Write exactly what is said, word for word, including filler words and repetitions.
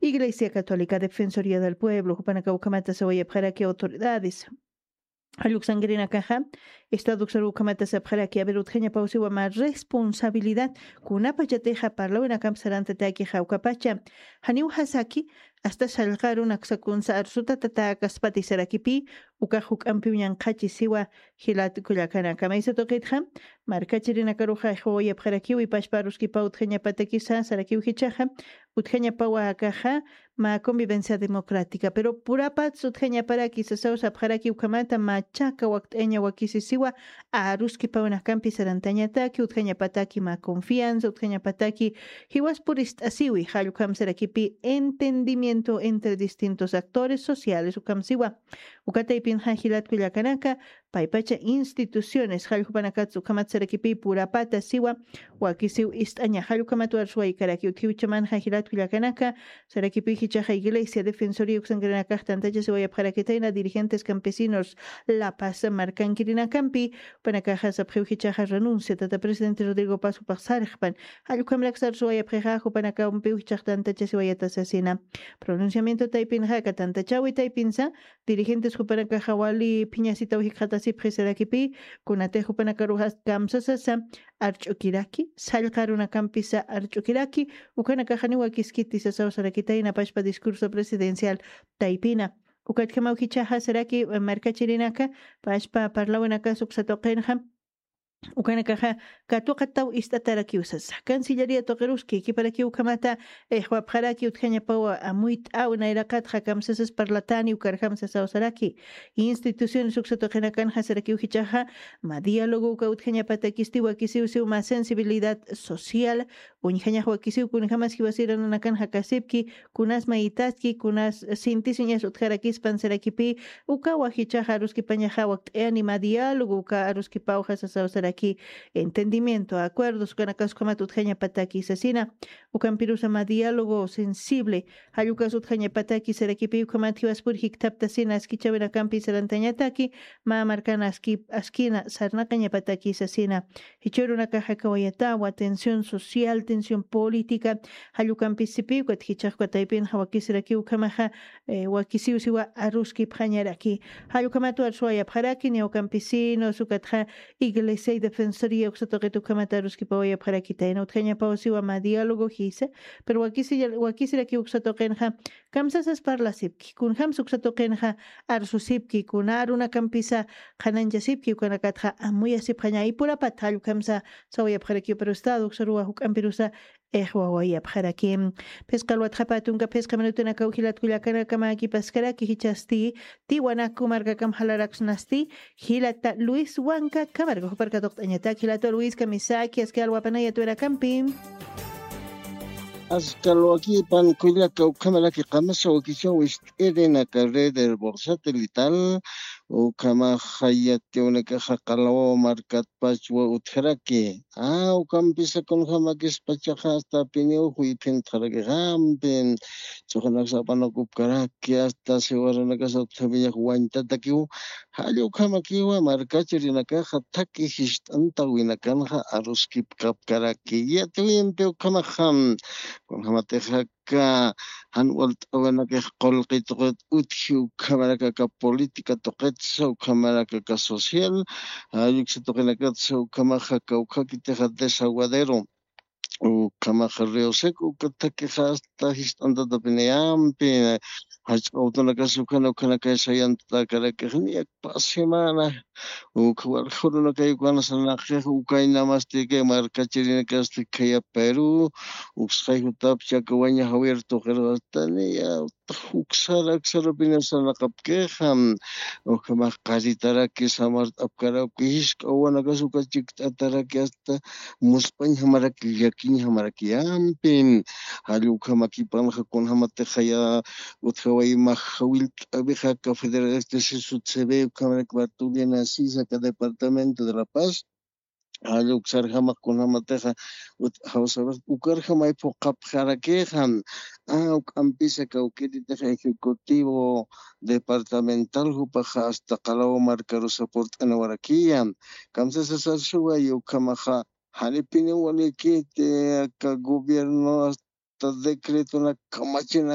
Iglesia Católica, Defensoría del Pueblo, jupanaka ukhamata sawayapxaraki autoridades. Jalluksankirinakaxa, Estado uksaru ukhamata sapxaraki, a ver, utjañapaw siwa mä responsabilidad, kunapachatixa parlawinakamp sarantataki jawkapacha. Janiw jasaki, hasta sallqaru naksakunsa arsutatatäkaspati sarakipï, ukax juk'ampiw ñanqhachi siwa jilat kullakanaka. Maysa tuqitxa, markachirinakaruxa jiwawayapxarakiw, ipachpa aruskipaw utjañapatakisa sarakiw jichhaxa, utjañapawa akaxa, mä convivencia democrática. Pero purapats utjañaparaki sasaw sapxaraki ukhamata, mä chaka wakt'aña wakisi siwa aruskipawinakampi sarantañataki, utjañapataki mä confianza, utjañapataki jiwas purist'asiwi, jall ukham sarakipï entendimiento entre distintos actores sociales ukham siwa. Uka taypinxa jilat kullakanaka, paypacha instituciones, jall jupanakats ukhamat sarakipï purapata siwa, wakisiw ist'aña, jall ukhamat warsuwaykaraki, utjiw chamanxa jilat kullakanaka, sarakipï jichhaxa Iglesia Defensoría uksankirinakax tantacha siwayapxarakitayna dirigentes campesinos La Paz markankirinakampi, jupanakaxa sapxiw jichhaxa renuncia, tata presidente Rodrigo Paz jupax sarxpan, jall ukhamrak sarsuwayapxixa, jupanakampiw jichhax tantacha siwayata sasina. Pronunciamiento taypinxa, aka tantachawi taypinsa, dirigentes jupanakaxa wali phiñasitaw jikxatasipxi sarakipï, kunatix jupanakaruxa kamsasasa arch'ukiraki, sallqa arunakampisa arch'ukiraki, ukanakaxaniw wakiskiti sasaw sarakitayna pachpa discurso presidencial taypina. Ukatjamaw jichhaxa saraki, eh, markachirinaka, pachpa parlawinakas uksa tuqinxa, ukanakaxa katuqataw ist'atarakiw sasa. Cancillería tuqiruski, jikiparakiw ukhamata, eh, jiwapxaraki utjañapawa amuyt'aw nayraqatxa kamsasas parlatani ukarjam sasaw saraki. Instituciones uksa tuqinakanxa sarakiw jichhaxa, mä diálogo uka utjañapatakisti wakisiw siw mä sensibilidad social, uñjañax wakisiw kunjamas jiwasirananakan jakasipki, kunas mayitaski, kunas sintisiñas utjarakispan sarakipï, ukawa jichhaxa aruskipañaxa wakt'ayani mä diálogo uka aruskipawxa sasaw saraki, entendimiento, acuerdos, ukanakas ukhamat utjañapataki sasina, ukampirusa mä diálogo sensible, jall ukas utjañapataki sarakipï ukhamat jiwaspur jikthaptasina askichawinakampi sarantañataki, mä markan aski, askina sarnaqañapataki sasina. Jichhürunakaxa kawayatawa, tensión social, tensión política, jall ukampisipï ukat jichhax uka taypinxa wakisirakiw ukhamaxa, eh, wakisiw siwa aruskipxañaraki. Jall ukhamat warsuwayapxaraki, niyaw campesinos, ukatxa Iglesia y Defensoría uksa tuqit ukhamat aruskipawayapxarakitayna, utjañapaw siwa mä diálogo jisa, pero wakisi, wakisirakiw uksa tuqinxa, kamsasas parlasipki, kunjams uksa tuqinxa arsusipki, kuna arunakampisa qhanañchasipki, ukanakatxa amuyasipxaña, ipurapat jall ukhamsa sawayapxarakiw, pero Estado uksaruwa juk'ampirusa ixwawayapxaraki. Phisqa alwatxapa tunka phisqa minutunakaw jilat kullakanakamäkipaskaraki, jichhasti Tiwanaku markakam jalaraksnasti, jilata Luis Huanca, kamarka jupar katuqt'añatak, jilata Luis kamisaki, aski alwapanaya tuwirakampi. Aski alwakipan kullaka, ukhamaraki qamasa wakichaw ist'irinaka red por satelital, ukhamaxa yatiwanakaxa qalawaw markatpachwa utjaraki. Ah, ukampisa kunjamakispachaxa hasta piniw juyphintxaraki, jampin chuqanaksa apanakupkaraki, hasta siwaranakas utjapiñax wañtatakiw. Jall ukhamakiwa markachirinakaxa thaki jist'antawinakanxa aruskipkapkaraki. Yatiwimpi ukhamaxa, kunjamatixaka jan walt'awinakix qullqi tuqit utji, ukhamaraki aka política tuqitsa, ukhamaraki aka social, jall uksa tuqinakatsa, ukhamaxa kawkhakitixa desaguadero, ukhamaxa río seco, uka thakixa hasta jist'antatapinayampi, jach'a awtunakasa ukhana ukhanakay sayantatäkarakix, niya pasximana, ukha walja urunakay ukanasa naqix, ukay namasti kay markachirinakasti khaya Perú, uksxay jutapcha aka waña Javier tuqirux hasta niya, uksara, uksarapinasa naqapkixa, ukhamax qaritaraki, samart'apkaraki, jisk'a wawanakas uka chikt'ataraki, hasta muspañjamaraki, llakiñjamaraki, yampin, jall ukhamakipanxa kunjamatixaya, utjaway max jawillt'awixa aka Federación de Sisutsewe, ukhamaraki Bartolina Sisa, aka departamento de La Paz, jall uksarjamax kunjamatixa, ut-, jawsax ukarjamay phuqhapxarakixa, ah, uk'ampisa kawkiritixa ejecutivo departamental jupaxa hasta qalaw markarusa purt'aniwarakiya. Kamsasasarsuway ukhamaxa, janipiniw walikiti aka gobierno hasta decretonak kamachinak